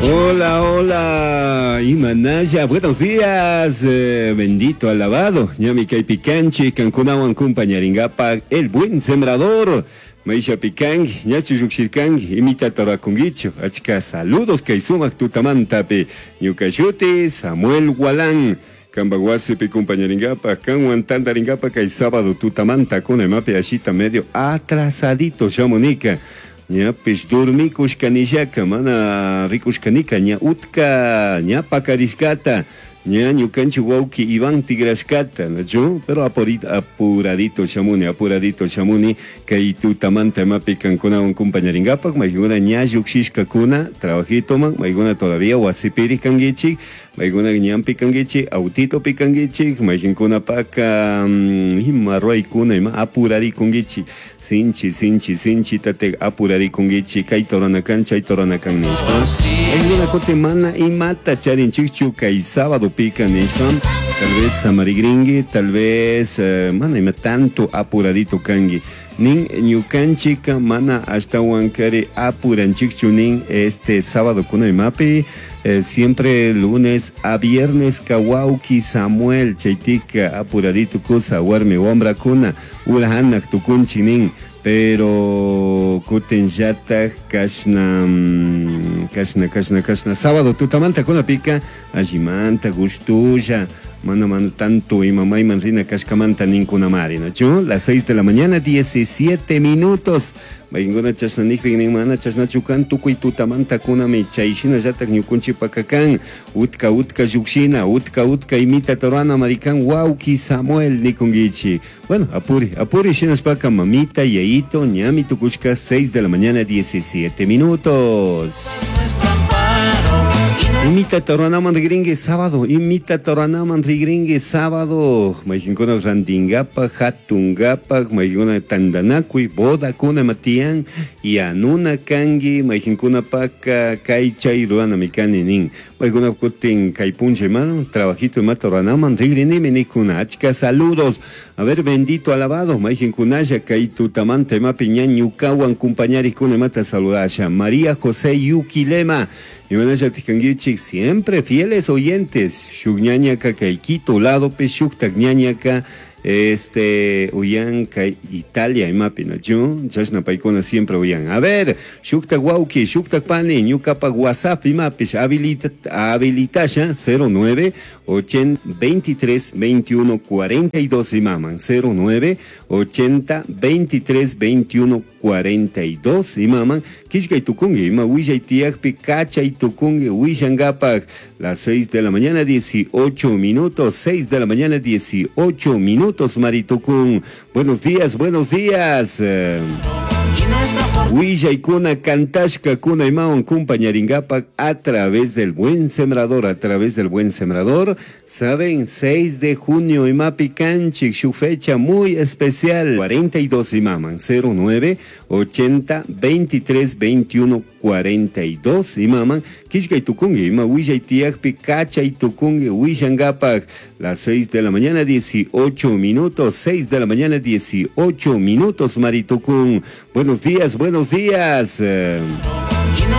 Hola, hola, Imanaya, buenos días, bendito, alabado, ñami kaypi kanchik, kankunawan kumpañarinkapak, el buen sembrador, Maisha pikanki, ñachu llukshirkanki, imitata rurakunkichu, achka saludos kay sumak tutamantapi, ñuka shuti Samuel Gualán, Kanpak wasipi kumpañarinkapak, kanwan tantarinkapak kay sábado tutamanta kuna imapi ashita medio atrasadito shamunika, ñapish dormikushkanillaka, mana rikushkanika, ña utka, ña pakarishkata, ña ñukanchik wawki Iván tigrashkata, nachu? Pero apuradito shamuni, apuradito shamuni, kay tutamanta imapi kankunawan kumpañarinkapak, maykuna ña llukshishkakuna, trabajitoman, maykuna todavía wasipiri kankichik, maykuna ñanpi kankichik, autitopi kankichik, mayqinkunapaka, ima ruraykuna, ima apurarikunkichik, sinchi, sinchi, sinchi tate apurarikunkichik, kayta ruranakan, chayta ruranakan nishpa. Maykuna kutin mana imata charinchikchu kay sábado pika nishpa, tal vez samarigrinki, tal vez mana ima tanto apuradito kanki. Nin ñukanchika mana ashtawankari apuranchikchu nin este sábado kuna imapi, siempre lunes a viernes kawauki Samuel chaytika apuradito kusa warmi wambrakuna urahanak tukunchik nin, pero kutin llatak kashna, kashna, kashna, kashna sábado tutamanta kunapika allimanta gustulla mana mana tanto ima mayman rina kashkamanta ninkunamari, ¿nachu? Las 6 de la mañana, 17 minutos. Maykuna chashna nikpi nin mana chashnachu kan tukuy tutamanta kunami chayshina llatak ñukunchikpaka kan utka utka llukshina utka utka imita torana marikan wawki Samuel nikunkichik. Bueno, apuri, apuri shinashpaka mamita yayito ñami tukushka 6 de la mañana, 17 minutos. Imita toranaman rigringue sábado, imita toranaman rigringue sábado. Mayqinkuna rantinkapak, hatunkapak, mayqinkuna tantanakuy, bodakuna matiyan, yanuna kanki, mayqinkunapaka kay chay ruranami kani nin. Maykuna kutin kay puncha hermano, trabajito imata ruranaman rigrinimi nikuna. Achka saludos. A ver, bendito alabado, mayqinkunalla kay tutamanta imapi ña ñukawan kumpañarikuna imata saludasha. María José Yuquilema. Imanalla tikankichik, siempre fieles oyentes. Shuk ñañaka kay Quito ladopi, shuktak ñañaka, uyan kay Italia imapi, nachu? Chashna paykuna siempre uyan. A ver, shuktak wawki, shuktak pani, ñukapak WhatsApp imapish, habilitasha, cero nueve, ochenta, veintitrés, veintiuno, cuarenta y dos imaman, cero nueve, ochenta, veintitrés, veintiuno, cuarenta y dos imaman, kishkay tukungi, ima willay tiyakpi, kachay tukungi, willangapak, las 6 de la mañana, 18 minutos, 6 de la mañana, 18 minutos, Maritukun. Buenos días, buenos días. Willaykuna kantashka kuna imawan kumpañaringapak a través del buen sembrador, a través del buen sembrador. Saben, 6 de junio imapi kanchik, su fecha muy especial. 42 imaman, cero nueve, ochenta, veintitrés, veintiuno, cuarenta y dos imaman. Kishkay tukungi, ima willay tiyakpi, kachay tukungi, willangapak. Las 6 de la mañana, 18 minutos, 6 de la mañana, 18 minutos, Maritukun. Buenos días, buenos días.